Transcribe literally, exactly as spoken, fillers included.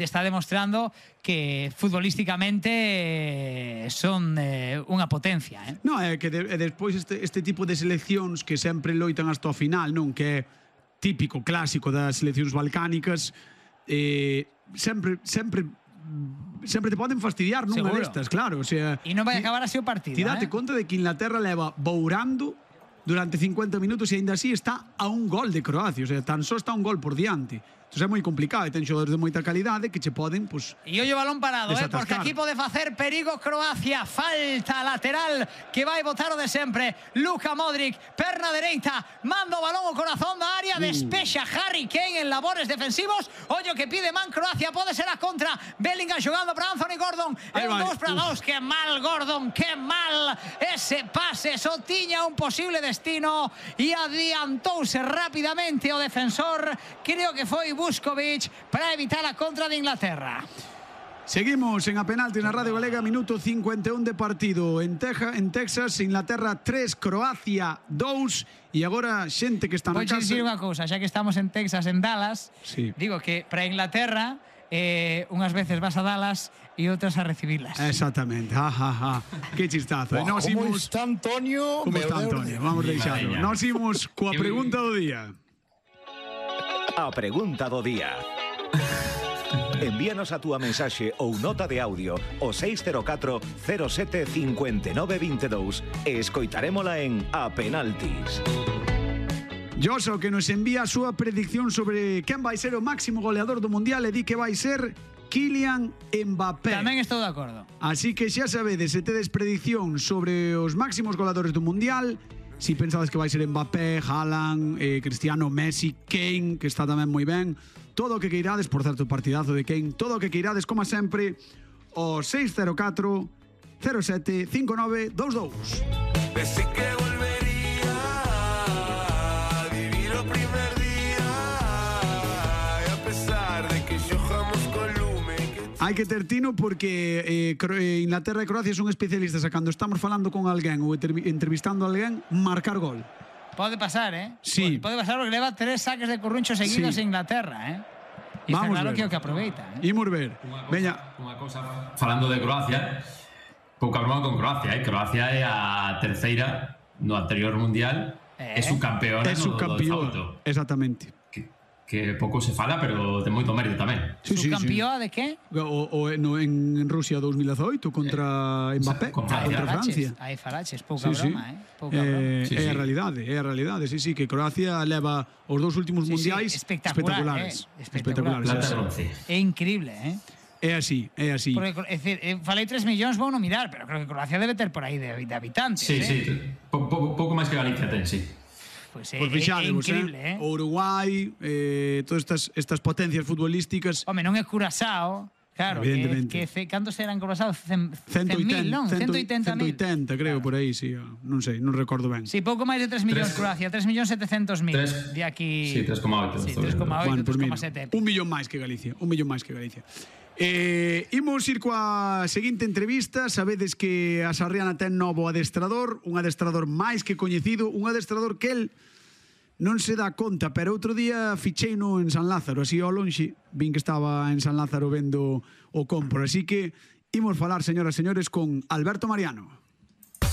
está demostrando que futbolísticamente son eh, unha potencia, eh? No, é que de, e despois este, este tipo de seleccións que sempre loitan hasta o final, non? Que é típico, clásico das seleccións balcánicas, eh, sempre sempre sempre te poden fastidiar nunha Seguro. destas, claro, o sea, E non vai acabar así o partido, ti date eh? conta de que Inglaterra leva bourando durante cincuenta minutos e ainda así está a un gol de Croacia, o sea, tan só está un gol por diante. Entón é moi complicado e ten xogadores de moita calidade que che poden, pues, E ollo balón parado, eh, porque desatascar. aquí pode facer perigo Croacia. Falta lateral que vai botar o de sempre. Luka Modric, perna dereita, manda o balón ao corazón da área, Uh. despexa Harry Kane en labores defensivos. Ollo que pide man Croacia, pode ser a contra. Bellingham xogando para Anthony Gordon. É un dos para dos, que mal Gordon, que mal ese pase, só tiña un posible destino e adiantouse rapidamente o defensor. Creo que foi Vuskovic para evitar a contra de Inglaterra. Seguimos en a penalti na Radio Galega, minuto cincuenta e un de partido en, Teja, en Texas, Inglaterra tres, Croacia dos, e agora xente que está na Pois casa. dicir unha cousa, xa que estamos en Texas, en Dallas, Sí. digo que para Inglaterra eh, unhas veces vas a Dallas e outras a recibilas. Exactamente, ja, ja, ja. Que chistazo. Wow, Nos como imos... está Antonio? Como está Meu Deus. Antonio? Vamos deixalo. Nos imos coa pregunta do día. A pregunta do día. Envíanos a túa mensaxe ou nota de audio ao seis cero catro cero sete cinco nove dos dous e escoitarémola en A Penaltis. Joso, que nos envía a súa predicción sobre quen vai ser o máximo goleador do Mundial e di que vai ser Kylian Mbappé. Tamén estou de acordo. Así que xa sabedes, se tedes predicción sobre os máximos goleadores do Mundial, si pensades que vai ser Mbappé, Haaland, eh, Cristiano, Messi, Kane, que está tamén moi ben, todo o que queirades, por certo, partidazo de Kane, todo o que queirades, como sempre, o seis cero catro cero sete cinco nove dos dous. Pensé que volvería a vivir o primer día y a pesar de que yo jamás colume que... Hai que ter tino porque eh, Cro- eh, Inglaterra e Croacia son especialistas a cando estamos falando con alguén ou entrevi- entrevistando a alguén, marcar gol. Pode pasar, eh? Sí. Pode pasar porque leva tres saques de curruncho seguidos Sí. en Inglaterra, eh? E está Vamos claro ver. que é o que aproveita, eh? Imos ver. Veña, Unha cousa, falando de Croacia, pouca broma con Croacia, eh? Croacia é a terceira no anterior mundial, Eh? é subcampeona é no, do subcampeón. salto, Exactamente. que, que pouco se fala, pero ten moito mérito tamén. Sí, sí, sí. Subcampeón de que? O, o no, en Rusia dos mil dezaoito contra Mbappé, con contra Francia. Francia. Hai faraches, pouca Sí, sí. broma, eh? Pouca Eh, broma. Sí, é a sí. realidade, é a realidade, sí, sí, que Croacia leva os dous últimos Sí, sí, mundiais espectacular, espectaculares. eh, espectacular. Espectaculares, Plata sí, e bronce. É increíble, eh? É así, é así. Porque, é dicir, eh, falei tres millóns, vou non mirar, pero creo que Croacia debe ter por aí de, de habitantes, Sí, eh? sí, po, po, pouco máis que Galicia ten, sí. Pois é, Pois é, é fixadevos, increíble, eh? eh? O Uruguai, eh, todas estas, estas potencias futbolísticas. Home, non é Curaçao, claro, que, Evidentemente. que ce, cantos eran Curaçao? Cen, cento cen mil, oitenta, non? cento cento oitenta mil. creo, por aí, sí, non sei, non recordo ben. Sí, pouco máis de tres millóns Tres- Croacia, tres millóns setecientos mil. Tres- De aquí... sí, tres coma oito, Sí, estou tres vendo. coma oito, Bueno, pues tres mira, coma sete. un millón máis que Galicia, un millón máis que Galicia. Eh, imos ir coa seguinte entrevista. Sabedes que a Sarriana ten novo adestrador, un adestrador máis que coñecido, un adestrador que el non se dá conta, pero outro día ficheino en San Lázaro, así ao lonxe, vin que estaba en San Lázaro vendo o compro, así que imos falar, señoras e señores, con Alberto Mariano.